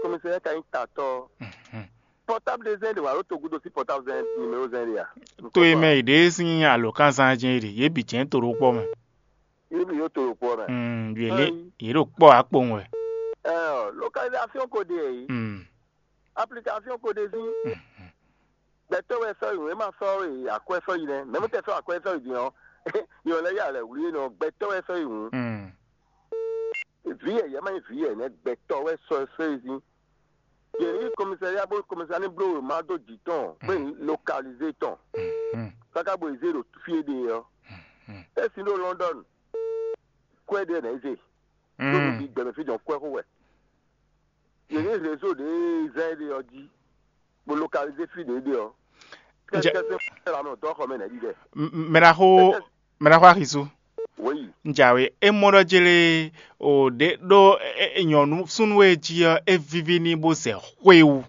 Kɔmisɛ́ya ka nyí tatɔ́. Mhm. Pɔtáblu zɛn ɖe wǎ ɖó togudo sín pɔtáblu zɛn nimero zɛn ɖe a? To e mɛ yě ɖe sín alǒkanzán jɛ́n é ɖe, yě bǐ jɛ́n to ɖokpɔ́ mɛ. Yě bǐ ɖó to ɖokpɔ́ mɛ. Mm, yě lé, Ayi. Yě ɖo kpɔ́ akpowun wɛ. Ɛɛ, localisation ko ɖe yě. Mm. Application ko ɖe sín. Mhm. Gbɛtɔ́ wɛ sɔ́ yi nǔ, é ma sɔ́ yi akwɛ́ sɔ́ yi nɛ́. Mɛ̌ mú tɛ sɔ́ akwɛ́ sɔ́ yi din ɔ́, yɔ lɛ́ yá lɛ̌ wlí é nɔ gbɛtɔ́ wɛ sɔ́ yi hǔn. Mm. Vǐ yɛ̌yɛ́ má nyí vǐ yɛ̌yɛ́ nɛ́, gbɛtɔ́ wɛ sɔ́ sɔ́ yi sín. Yě ní kɔmisariya bó kɔmisariya ní bló wěma dó jǐ tɔn, bó yi localize tɔn. Mhm. Káká bo yi zé ɖo fí e ɖe ɔ́. Mhm. É sin ɖo London, kwɛ́ ɖé nɛ́ zé. Ɖó Mm. nǔ bǐ gbɛmɛ fí jɔn kwɛ́ xó wɛ. Yě ní réseau ɖě zɛ́n é ɖe ɔ́ jí, bó localize fí ɖě é ɖe ɔ́. Jɛ- Kɛ́kɛ́ sɛ́n xwé la mɛ dɔ́ xɔ mɛ nɛ́ ɖi ɖɛ. M- m- Mɛ ɖaxó, mɛ ɖaxó Axisu. Wěyi. Njawe, é mɔ ɖɔ jélé o ɖě ɖó é- é- nyɔ̌nu súnnu e jí ɔ́, é víví n'i bó zɛ xwé wú.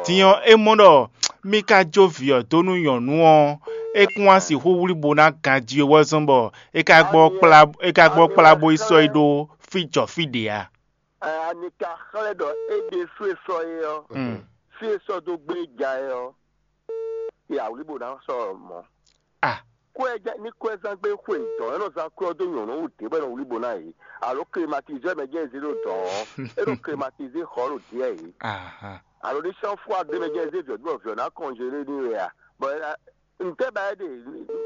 Din ɔ́, é mɔ ɖɔ mì ka jó vǐ ɔ́ dó nú nyɔ̌nu ɔ́, é kún wá sixú wlí bo ná ganjí wɛ zɔ́n bɔ é ka gbɔ kplá é ka gbɔ kplá bó yi sɔ́ yi ɖó fí jɔ fí ɖě a? Ani ka xlɛ́ ɖɔ é ɖésú e sɔ́ é ɔ́, Mm. fí e sɔ́ dó gbé ja é ɔ́, ya wlí bo ná sɔ́ mɔ̌. Ah. Kó ɛ jẹ́ ní kó ɛ zán gbé xwe dɔ̌n é nɔ zán kú ɔ́ dó nyɔ̌nu wú dě bɔ é nɔ wlí bo ná yě. Alo klimatizɛ́ mɛ jẹ́ zé ɖo dɔ̌n ɔ́, é ɖo klimatizé xɔ ɖo dǐɛ yě. Aha. Alo ní sɔ́ fú adé mɛ jẹ́ zé vǐ ɔ́ dó bɔ vǐ ɔ́ ná kɔnjelé ní wɛ a? Bɔ é ná ntɛ́ ba é ɖe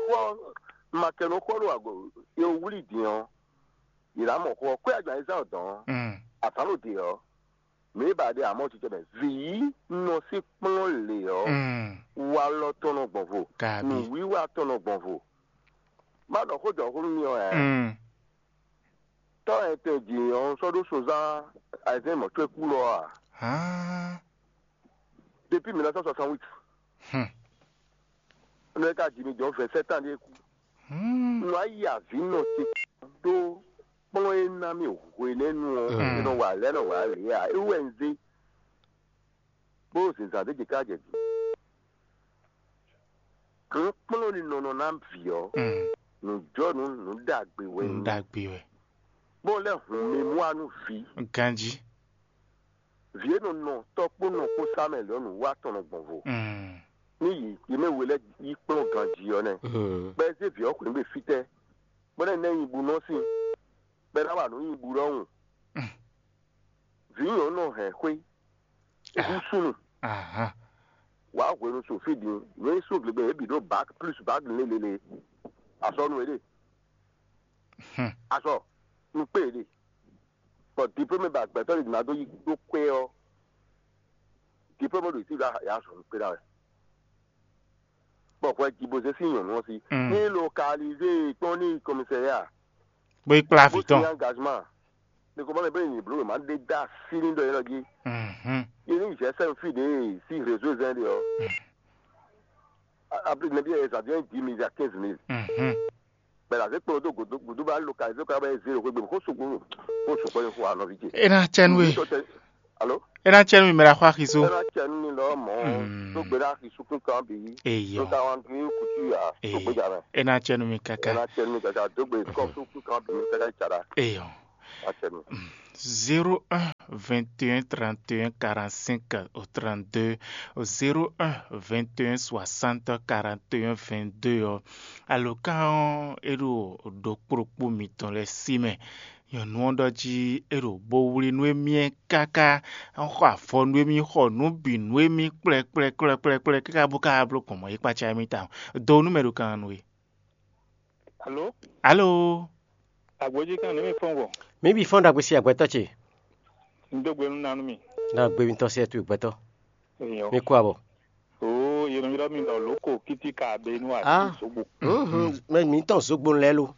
xɔ makɛnu xɔ ɖo ago e wlí din ɔ́, yě ná mɔ xɔ kó ɛ jɔ ayizán ɔ́ dɔ̌n Mm. azǎn ɖo dě ɔ́, mǐ ba ɖe amɔ̌ cicɛ mɛ vǐ nɔ sí kplɔ́n lě ɔ́, Mm. walɔ tɔn nɔ gbɔn vo, Kabi. Nǔwiwa tɔn nɔ gbɔn vo. Má ɖɔ xó jɔ xó nú mi ɔ́ ɛ. Mm. Tɔ́ ɛ tɛ jǐ ɔ́ sɔ́ ɖó sozán ayizɛ́n mɔ̌ có é kú lɔ a? Hán. Depuis mille neuf cent soixante-huit. Hmm. Nɔ e ka ji mi jɔ vingt-sept ans ɖíe kú. Hmm. Nɔ ayi avǐ nɔ ce ɖó kplɔ́n e ná mì hwenɛ́nu ɔ́, Hmm. e nɔ wa lɛ̌ nɔ wa lě ǎ, é wú wɛ un zé. Bó zǐnzán ɖé jɛ ká jɛ din. Kplɔ́n kplɔ́n ní nɔ nɔ ná vǐ ɔ́, Hmm. nǔjɔnǔ nǔ ɖagbe wɛ Nǔ nyí. Ɖagbe wɛ. Bó lɛ́ hun mi mú wá nú vǐ. Ganjí. Vǐ e nɔ nɔ tɔ́ kpó nɔ kpó sá mɛ lɔ̌ nǔ wá tɔn nɔ gbɔn vo. Mm. Ní yi yě mɛ we lɛ́ɛ yi kplɔ́n ganjí ɔ́ nɛ́. Mm. Bɔ é zé vǐ ɔ́ xwǐn gbe fítɛ́, bɔ nɛ́ nɛ́ nyi bu nɔ́ sín, bɔ é ná wa nǔ nyi bu ɖɔhun. Mm. Vǐ nyɔ̌nu nɔ hɛn xwé, é hú súnnu. Ahán. Wǎ hwenu so fí din, nǔ e sú glegbé yě bǐ ɖó bǎk plus bǎk lélele. Azɔ̌ nú é ɖe. Hmm. Azɔ̌ nú kpé é ɖe. Bɔ diplôme ba gbɛtɔ́ ɖě ná dó yi ɖó kwɛ́ ɔ́, diplôme ɖo ici ɖo ya zɔn kpé ɖa wɛ. Bɔ hwɛ jibozé sín nyɔ̌nu ɔ́ sí Mm. ní localisé kpɔ́n ní commissariat. Bó yi kplá vǐ bó tɔn. Sín engagement. Ní kò bá mi bó yi bló ma ɖé dá sí ní ɖɔ yɛ́ lɔ jí. Mhm. Yé ní zɛ sɛn fí ɖě sí réseau zɛn ɖé ɔ́. Mm. Apli nɛbí ɛ zǎn dix mille à quinze mille. Mhm. Bɛlɛ azé kplɔ́n dó gǔdú gǔdú bá localisé kɔ abɛ zéro xwé gbé xó sukpó xó sukpó ní xó anɔví ce. É ná cɛ nú we. Alo? É ná cɛ nú mi mɛ ɖaxó Axiso. É ná cɛ nú mi lɔ mɔ Mm. tó gbé ɖá Axiso kún kan bǐ. Eyɔ. Tó ta wan kí kùtù yà tó gbé jà mɛ. É ná cɛ nú mi É káká. ná cɛ nú mi káká dó gbé kɔ tó kún kan bǐ káká tsa ɖá. Eyɔ. Á cɛ nú. Zéro un vingt et un trente et un quarante-cinq au trente-deux, zéro un vingt et un soixante quarante et un vingt-deux ɔ́, alǒkan ɔ́ é ɖo ɖokpó ɖokpó mitɔn lɛ́ɛ sí mɛ. Nyɔ̌nu ɔ́ ɖɔ jí é ɖo bo wlí nú émí ɛ káká, xɔ afɔ nú émí, xɔ nǔ bǐ nú émí kplɛ́kplɛ́kplɛ́kplɛ́ káká bó ka bló gbɔn mɔ̌ yi kpácá émí tawun. Do nú mɛ ɖo kan nú we. Alo? Alo? Agbójí kan ní mi fɔn gbɔn. Mǐ bǐ fɔ́n ɖagbe sí agbɛtɔ́ ce. Un dó gbe nú nanú mi. Ná gbe mitɔn sí ɛtú gbɛtɔ́. Èèyàn. Mi kú abɔ. Oo, yẹnu yɔrɔ mi lɔ lóko kiti ka be nú Ah. àti sogbo. Mhm. Mɛ mǐtɔn zogbo lɛ́ lo.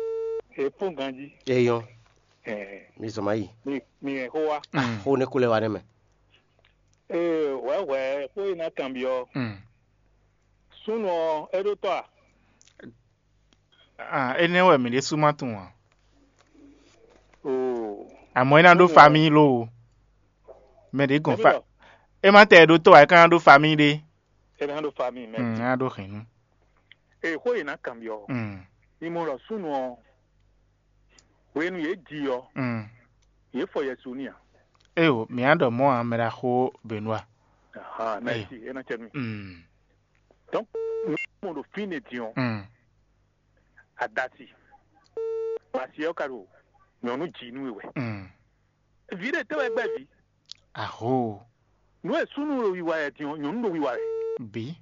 E fún ganjí. Eyɔn. Ẹ, Mi zɔn ma yi. Mi mi ẹ xó wa. Mm. Xó ne kó lɛ wa ne mɛ. Ee, wɛ wɛ xó yi ná kanbyɔ. Mm. Súnnu ɔ, é ɖó tɔ a? Ah, énɛ́ wɛ mǐ ɖésú ma tunwun ǎ. Oo. Àmọ́ é ná ɖó famíyi lóo. Mɛ ɖě gɔn fa. É má tɛ ɖó tɔ́ ǎ, é ka ná ɖó famíyi ɖé. É ná ɖó famíyi mɛ. Mm, é ná ɖó hɛ̌nnu. Èxó yě ná kanbyɔ́. Mm. Mi mɔ ɖɔ súnnu ɔ́, hwenu yě ji ɔ́, mm, yě fɔ Yɛsu n'i a? Éyo, mǐ á ɖɔ mɔ̌ ǎ, mɛ ɖaxó Benua. Aha, mɛsi, é ná cɛ nú. Mm. Donc, nǔ mɔ ɖo fínɛ́ din ɔ́, mm, adasi. Basi ɔ́ ka ɖo nyɔ̌nu ji nú we wɛ. Mm. Vǐ ɖé tɛ́ wɛ gbɛ́ vǐ? Aho. Nǔ e súnnu ɖo wiwa wɛ din ɔ́, nyɔ̌nu ɖo wiwa wɛ. Bǐ.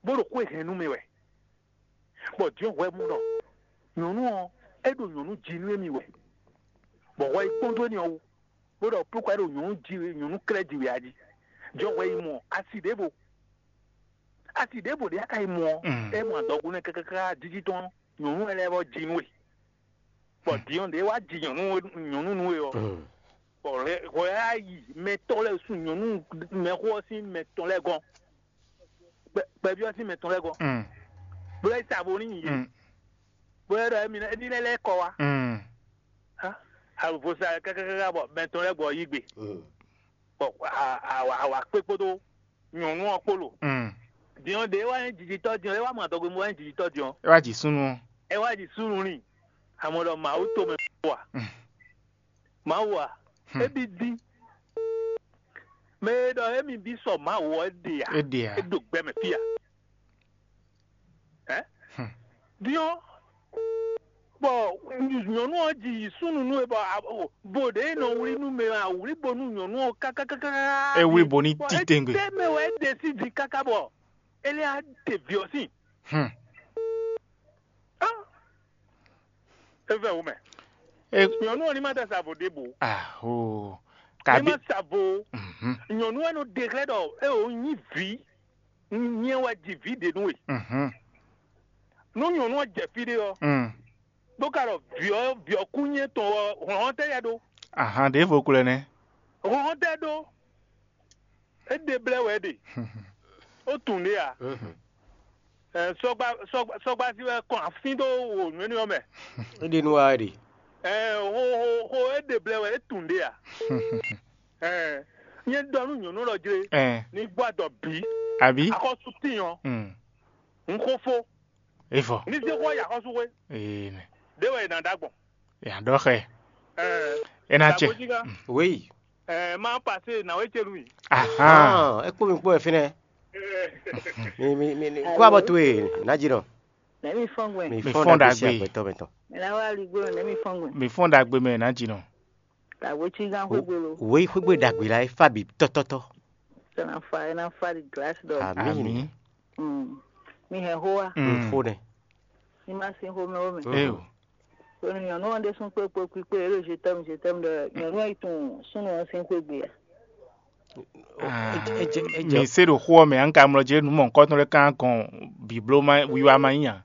Bó ɖo xwé hɛn nú mì wɛ. Bɔ din ɔ́ hwɛ mɔ ɖɔ nyɔ̌nu ɔ́, é ɖo nyɔ̌nu ji nú émí wɛ, bɔ hwɛ yi kpɔ́n dó énɛ́ ɔ́ wú, bó ɖɔ púkwa é ɖo nyɔ̌nu ji wɛ, nyɔ̌nu klɛ́ ji wɛ a jí. Din ɔ́ hwɛ yi mɔ asi ɖěvo. Asi ɖěvo ɖě a ka yi mɔ ɔ́, mm, é mɔ adɔgo nɛ́ káká jíjí tɔn nyɔ̌nu lɛ́ɛ bɔ ji nú we. Bɔ din ɔ́ ɖě wá ji nyɔ̌nu nyɔ̌nu nú we ɔ́, mm, bɔ hwɛ á yi mɛtɔn lɛ́ɛ sun nyɔ̌nu mɛxó ɔ́ sín mɛtɔn lɛ́ɛ gɔ́n, kpɛví ɔ́ sín mɛtɔn lɛ́ɛ gɔ́n, mm, bó lɛ́ sa vo n'i yě, mm, bó lɛ́ ɖɔ émí ní lɛ́ lɛ́ kɔ wá. Mm. Avosa kákákáká bɔ mɛtɔn lɛ́ɛ gbɔ yí gbe, bɔ awa kpé kpódó nyɔ̌nu ɔ́ kpó lo. Mm. Din ɔ́, ɖě wá nyí jijitɔ́ din ɔ́, é wá mɔ adɔgbe mɔ wá nyí jijitɔ́ din ɔ́, É wá ji súnnu ɔ́. É wá ji súnnu n'i. Àmọ́ ɖɔ Mawu tomɛ wa. Mm. Mawu a? Hmm. É bí dín. Mɛ e ɖɔ émí bí sɔ Mawu ɔ́, é ɖe ǎ. É ɖe ǎ. É ɖo gbɛ mɛ fí a? Ɛ? Hmm. Din ɔ́, bɔ nyɔ̌nu ɔ́ ji yi súnnu nú we bɔ a- o- bo ɖě e nɔ wlí nú mɛ ɔ́, a wlí bo nú nyɔ̌nu ɔ́ kákákáká. É wlí bo ní titewungbe. Étɛ́ mɛ wɛ é ɖe sín din káká bɔ é lɛ́ á ɖe vǐ ɔ́ sín? Hmm. Á, é vɛ wú mɛ. É- Nyɔ̌nu ɔ́ ní má dá sa vo ɖěbǔ. Aho. Ní Kabi. Má sa vo. Mhm. Nyɔ̌nu wɛ nɔ ɖe xlɛ́ ɖɔ é ò nyí vǐ, nyɛ wɛ ji vǐ ɖě nú we. Mhm. Nú nyɔ̌nu ɔ́ jɛ fí ɖé ɔ́, Mm. Bó ka ɖɔ vǐ ɔ́ vǐ ɔ́ kú nyɛ tɔn ɔ́, hlɔ̌n tɛ́ yɛ ɖó? Ahan ɖěvo ko lɛ́ nɛ́. Hlɔ̌n tɛ́ ɖó? É ɖe blɛ́ wɛ é ɖe. Ó tunwun ɖě ǎ. Mhm. Ɛ, sɔgba sɔgba sɔgba si wɛ kɔn afín dó wò nǔ énɛ́ ɔ́ mɛ. É ɖe nú wa wɛ ɖe. Ɛ, ho ho ho é ɖe blɛ́ wɛ é tunwun ɖě ǎ. Ɛ, nyɛ ɖɔ nú nyɔ̌nu lɔ jlé. Ɛ. Ní gbɔ adɔ bǐ. Àbí? Axɔ́sú tín ɔ́. Mm. Un xó fó. Evɔ. Ní zé xó ya xɔ́sú xwé. Ee nɛ. Ɖé wɛ è nǎ ɖa gbɔn. Yà ɖɔ xɛ. Ɛ, É ná cɛ. Dàgbójígá. Wéyi. Ɛ, má pasé nàwé célu yi. Ahan. Ah, é kpó mi kpó ɛ fínɛ́. Mi mi mi mi kó abɔ towe, ná jí nɔ. Nɛmi fɔngwe. Mi Mi fɔn fɔn dagbe si dagbe. Agbɛtɔ mɛtɔ. Mɛ na wa ligbo nɛmi fɔngwe. Mi fɔn dagbe mɛ ná jí nɔ. Dàgbójígá xwégbolo. Wéyi xwégbe dagbe la é fa bi tɔtɔtɔ. Sɛnɛ fa ena fa di glace dɔ. Ami. Ami. Mm. Mi hɛn hoa. Mm. Fo nɛ. Ni ma sin xomɛ wo mɛ. Eyo. Ko ni nyɔnu ɔn de sun kpe kpe kpe kpe elo je t'aime je t'aime de nyɔnu ayi tun sunu ɔn sin xwégbe ya. Ah, Ejɛ ejɛ. Mi se ɖo xó ɔ́ mɛ, an ka mlɔ jɛ nǔ mɔ̌hunkɔtɔn lɛ́ɛ kán gɔn bǐbló ma wiwa ma nyí ǎ.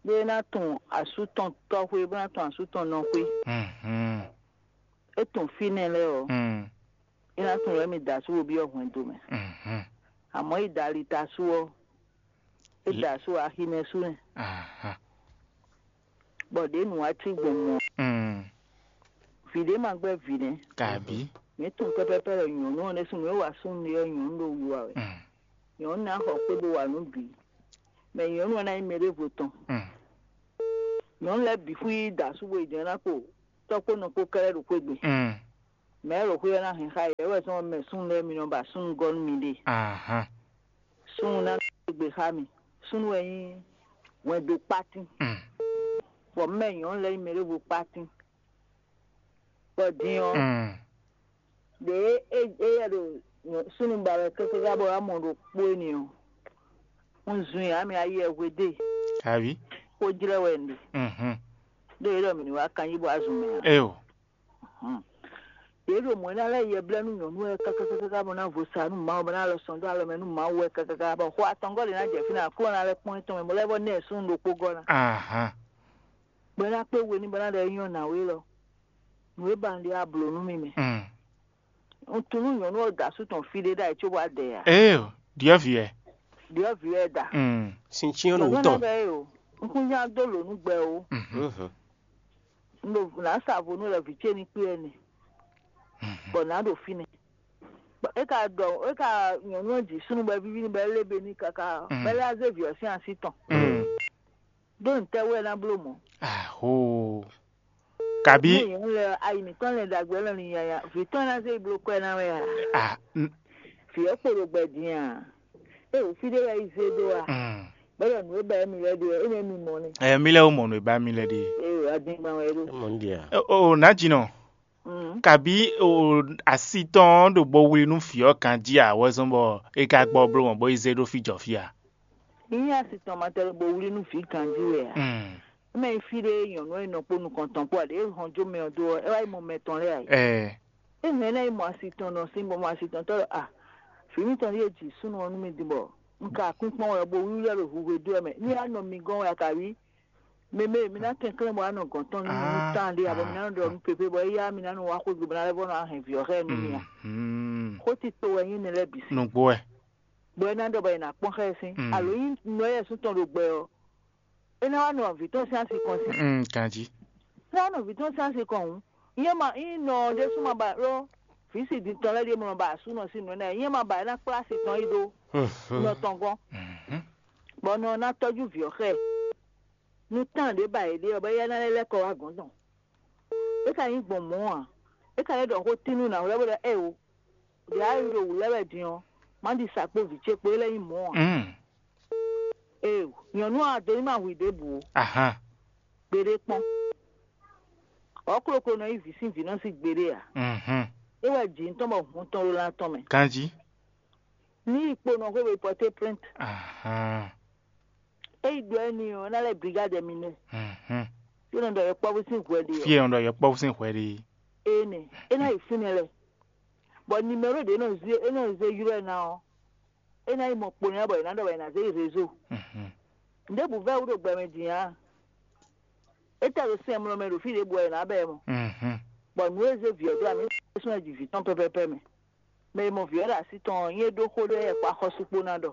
Bó ná tun asú tɔn tɔxwé, bó ná tun asú tɔn nɔxwé. Mhm. É tun fínɛ́ lɛ́ɛ ɔ́, Mm. É ná tun wɛ mi da asú wo byɔ́ hwɛndo mɛ. Mhm. Àmọ́ é da ali ta asú ɔ́, é da asú aximɛ sú nɛ. Aha. Bɔ ɖě nǔ wá cí gbɔn mɔ. Mm. Vǐ ɖé ma gbɛ́ vǐ nɛ́. Kabi. Mǐ tunwun pɛ́pɛ́pɛ́ ɖɔ nyɔ̌nu ɔ́ ɖésú nǔ e wa súnnu ɖe ɔ́ nyɔ̌nu ɖo wiwa wɛ. Mm. Nyɔ̌nu ná xɔ xwé bó wa nǔ bǐ. Mɛ nyɔ̌nu ɔ́ ná nyí mɛ ɖěvo tɔn. Mm. Nyɔ̌nu lɛ́ɛ bǐ xwí da asú bo yi jɛ̌n ná kpo tɔ́ kpó nɔ kpó kɛ́ɖɛ́ ɖo xwé gbe. Mm. Mɛ e ɖo xwé ɔ́ ná hɛn xá yě wɛ zɔ́n mɛ súnnu lɛ́ɛ mi nɔ ba súnnu gɔ́ nú miɖée. Ahan. Súnnu ná gbe xá mi. Súnnu wɛ nyí hwɛndo kpátín. Mm. Bɔ mɛ nyɔ̌nu lɛ́ɛ nyí mɛ ɖěvo kpátín. Bɔ din ɔ́, Mm. ɖě é é yɛ ɖo súnnu ba wɛ káká bɔ wá mɔ ɖo kpó énɛ́ ɔ́, un zun yǎ mi ayɛ hwedée, Abi. Xó jlɛ́ wɛ un ɖe. Mhm. Ɖó é ɖɔ mǐ ní wá kanjí bɔ azun mɛ ǎ. Eyo. Hmm. Yě ɖo mɔ̌ ná lɛ́ yɛ blɛ́ nú nyɔ̌nu wɛ kákákáká bɔ ná vo sa nú Mawu bɔ ná lɔ sɔn dó alɔ mɛ nú Mawu wɛ kákáká bɔ xó atɔngɔ́ ɖě ná jɛ fínɛ́ akló ná lɛ́ kpɔ́n étɔn mɛ bɔ lɛ́ vɔ nɛ́ súnnu ɖokpó gɔ́ ná. Ahan. Bɔ é ná kpé we ní bɔ ná ɖɔ é nyɔ́ nǎwe lɔ. Nǔ e ba un ɖe wá blǒ nú mi mɛ. Mm. Un tunú nyɔ̌nu ɔ́ da asú tɔn fí ɖé ɖ'ayǐ cóbɔ adɛ ǎ. Ee, ɖiɔ́vǐ wɛ. Ɖiɔ́vǐ wɛ da. Mm. Sin cyɔ́n nǔ Nyɔ̌nu tɔn. Ná ɖɔ é o. Un kún nya dó lǒ nú gbɛ o. Mhm. Mhm. Un ɖo nǎ sa vo nú lɛ vǐ ce ní kpé ɛnɛ. Bɔ nǎ ɖo fínɛ́. Bɔ é ka ɖɔ é ka nyɔ̌nu ɔ́ ji súnnu bɔ é víví ní bɔ é lé be ní káká, bɔ é lɛ́ zé vǐ ɔ́ sín así tɔn. Ɖó ntɛ́ wɛ é ná bló mɔ̌? Aho. Kabi. Ní nyɔ̌nu lɛ ayi mǐtɔn lɛ ɖagbe lɔ ní nyanya vǐ tɔn ná zé yi bló kɔ́ ɛ ná wɛ a? Ah, n- Vǐ ɔ́ kpo ɖo gbɛ din a? É wǔ fí ɖé wɛ yi zé dó a? mm. Bɛ́ ɖɔ nǔ e bɛ́ mi lɛ́ ɖe ɔ́, é nɛ́ mi mɔ ní. Eh, mi lɛ wo mɔ nú e ba mi lɛ ɖe. É wɛ adingban wɛ ɖó. Mɔn dia. O, o, nǎjínɔ. Mm. Kabi o asi tɔn ɖo bo wlí nú vǐ ɔ́ ganjí a wɛ zɔ́n bɔ é ka gbɔ bló mɔ bó yi zé ɖó fí jɔ fí a? Ní asi tɔn ma tɛlɛ bo wlí nú vǐ ganjí wɛ a? Mm. Mɛ yi fí ɖé nyɔ̌nu e nɔ kpó nukɔn tɔn kpó aɖě hɔn jó mɛ ɔ́ dó ɔ́, é wá yi mɔ mɛ tɔn lɛ́ɛ a yi. Eh, É hɛn ná yi mɔ asi tɔn nɔ sín bɔ mɔ asi tɔn tɔ́ ɖɔ a vǐ mitɔn ɖíe ji súnnu ɔ́ nú mi din bɔ un ka kún kpɔ́n wɛ bo wlí lɛ́ ɖo huhwe dó wɛ mɛ ní a nɔ mi gɔ́n wɛ a ka wí. Mɛmɛ mi ná kɛnklɛ́n bɔ a nɔ gɔ̌n tɔn nú mi nú Ah, tán ɖé abɔ mi ah, ná nɔ ɖɔ nú pépé bɔ éyá mi ná nɔ wá xwé gbe bɔ ná lɛ́ vɔ nɔ hɛn vǐ ɔ́ xá ɛ nú mi a. Mhm. Xó tito wɛ nyí nɛ lɛ́ɛ bǐ sí. Nugbo wɛ. Bɔ é ná ɖɔ bɔ è nǎ kpɔ́n xá ɛ sín Mm. alo nyí nɔ yɛ sún tɔn ɖo gbɛ ɔ́, é ná wá nɔ vǐ tɔn sín asi kɔn sí. Mm, ganjí. Lé ɔ́ nɔ vǐ tɔn sín asi kɔn hǔn, nyɛ ma nyí nɔ ɔ́ ɖésú ma ba ɖó vǐ si din tɔn lɛ́ɛ ɖíe mɔ ba asú nɔ sín nǔ énɛ́, nyɛ ma ba é ná kplá asi tɔn yi ɖó nɔ tɔn gɔ́n, Mhm. bɔ nɔ ɔ́ ná tɔ́jú vǐ ɔ́ xá ɛ. Nú tán ɖě ba yě ɖe ɔ́, bɔ éyɛ́ ná lɛ́ lɛ́ kɔ wá gɔ̌n tɔn. É ka nyí gbɔn mɔ̌ ǎ, é ka lɛ́ ɖɔ xó tín nú nǎwe lɛ́ɛ bó ɖɔ ée o, ɖě a yi ɖo wǔ lɛ́ wɛ din ɔ́, má ɖi sa kpó vǐ ce kpó é lɛ́ nyí mɔ̌ ǎ. Mm. Ee, nyɔ̌nu ɔ́, a do ní ma hu i ɖěbǔ ó. Ahan. Gbeɖé kpɔ́n. Ɔ̌ kloklo nɔ nyí vǐ sín vǐ nɔ sín gbeɖé ǎ. Mhm. É wɛ jǐ ŋutɔn bɔ hun tɔn ɖo lan tɔn mɛ. Ganjí. Ní yi kpo nɔ xwé bo yi pɔté plainte. Ahan. É yi ɖɔ ɛ n'i ɔ́, é ná lɛ́ brigade mi nɛ. Mhm. Fí nɔ ɖɔ yɔkpɔ́vú sín hwɛ ɖe ɔ́. Fie ɔn ɖɔ yɔkpɔ́vú sín hwɛ ɖe. Énɛ́, é ná yi fínɛ́ lɛ́ɛ. Bɔ nimɛro ɖě nɔ zé é nɔ zé ylɔ́ ɛ ná ɔ́, é ná yi mɔ kpo nɛ́ bɔ è nǎ ɖɔ bɔ è nǎ zé yi rézo. Mhm. Ɖěbǔ vɛ́ wú ɖo gbɛ mɛ din ǎ. É tɛ ɖo sɛn mlɔ mɛ ɖo fí ɖěbǔ wɛ è nǎ bɛ ɛ mɔ. Mhm. Bɔ nǔ e zé vǐ ɔ́ dó amǐ ɖésú ná ji vǐ tɔn pɛ́pɛ́pɛ́ mɛ. Mɛ e mɔ vǐ ɔ́ ɖo así tɔn ɔ́, nyí é ɖó xó ɖé wɛ kpó axɔ́sú kpó ná ɖɔ.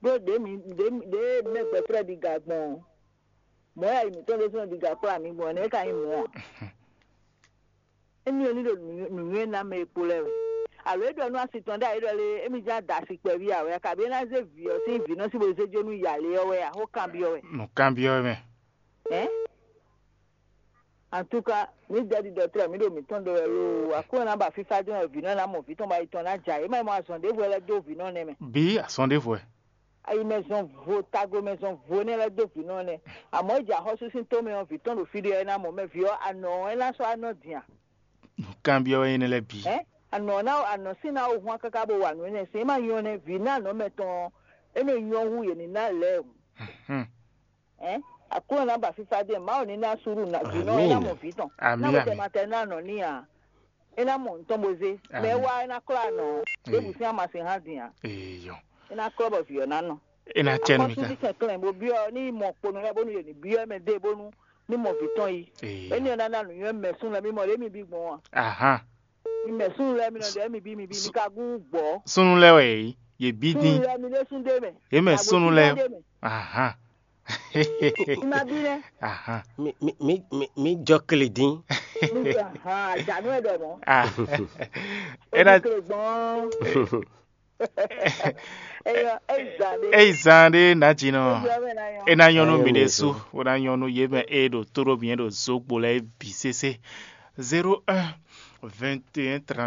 Ɖó ɖě mi ɖě mi- ɖě mɛ gbɛtrɛ́ ɖi ga gbɔn ɔ́, mɔ̌ yɛ yi mǐtɔn ɖésú nɔ ɖi ga kplá mǐ gbɔn ɔ́, nɛ̌ é ka nyí mɔ̌ ǎ? Émi ɔ́ ní ɖo nǔnywɛ́ ná mɛ e kpo lɛ́ɛ wɛ. Alo é ɖɔ nú asi tɔn ɖé a é ɖɔ lé émi ján da asi kpɛví ǎ wɛ a, kabǐ é ná zé vǐ ɔ́ sín vǐ nɔ sí bó zé jó nú yǎ lé ɔ́ wɛ a, xó kanbyɔ́ wɛ. Nǔ kanbyɔ́ mɛ. Hein? En tout cas, mǐ dɛ́ ɖiɖɔ tlɛ mǐ ɖo mǐtɔn ɖe wɛ loo. Aklúnɔ ná ba fífá jɔ́n wɛ vǐ nɔ ná mɔ vǐ tɔn ba yi tɔn ná ja. É má yi mɔ azɔn ɖěvo lɛ́ dó vǐ nɔ nɛ́ mɛ. Bí asɔn ɖěvo ɛ. Ayi mɛ zɔn vo tago mɛ zɔn vo nɛ́ lɛ́ dó vǐ nɔ nɛ́. Àmọ́ ìjà xɔ́sú sín tó mɛ ɔ́, vǐ tɔn ɖo fí ɖé ɔ́ é ná mɔ mɛ vǐ ɔ́ anɔ ɔ́ é ná sɔ́ anɔ din a. Nǔ kanbyɔ́ wɛ nyí nɛ́ lɛ́ɛ bǐ. Ɛ anɔ ná anɔ sín ná wó hwan káká bó wa nǔ énɛ́ sín é má nyɔ́ nɛ́ vǐ ná anɔ mɛ tɔn é nɔ nyɔ́ hú yě ní ná lɛ́ɛ o. Hmm. Ɛ aklúnɔ ná ba fífá dé Mawu ní ná súɖu ná vǐ nɔ é ná mɔ vǐ tɔn. Àmín, Ná wò tɛ àmín. Ma tɛ ná nɔ ní a. É ná mɔ nǔ tɔn bó zé. Mɛ Àmín. Wá é ná klá nɔ. Débù sín ama sín hán dín a. Eyɔ. É ná klɔ bɔ vǐ ɔ́ ná nɔ. É ná cɛ nú mi Akɔ́sú kan. Ní kɛnklɛ́n bó byɔ́ ní mɔ kponɔ lɛ́ɛ bónú yě ní byɔ́ mɛ dé bónú ní mɔ vǐ tɔn yi. Eyɔ. Éní ɔ́ ná ná nǔnywɛ́ mɛ sún lɛ́ɛ mí mɔ lě mí bí gbɔn a. Ahan. Mi mɛ sún lɛ́ɛ mi nɔ ɖɔ mi bí mi bí mi ka gún gbɔ́. Súnnu lɛ́ɛ wɛ yě yě bí Sún dín. Lɛ́ɛ mi ɖé sún dé mɛ. Yě mɛ súnnu lɛ́ɛ. Ahan. Má bí lɛ. Ahan. Mi mi mi mi mi jɔ kle dín. Àjànú ẹ̀ dẹ̀ mọ́. Ah. É ná Kle gbọ́n. Eyɔ eyi zan ɖe. Eyi zan ɖe ná dzi nɔ. Eyɔ mɛ na yɔ. É ná nyɔ́ nú Ná mi nyɔ́ ɖe nú sú. mi. Ó ná nyɔ́ nú yě mɛ é ɖo tóɖó mi é ɖo zógbo lɛ́ɛ bǐ sésé. Zéro un, vingt et un, trente.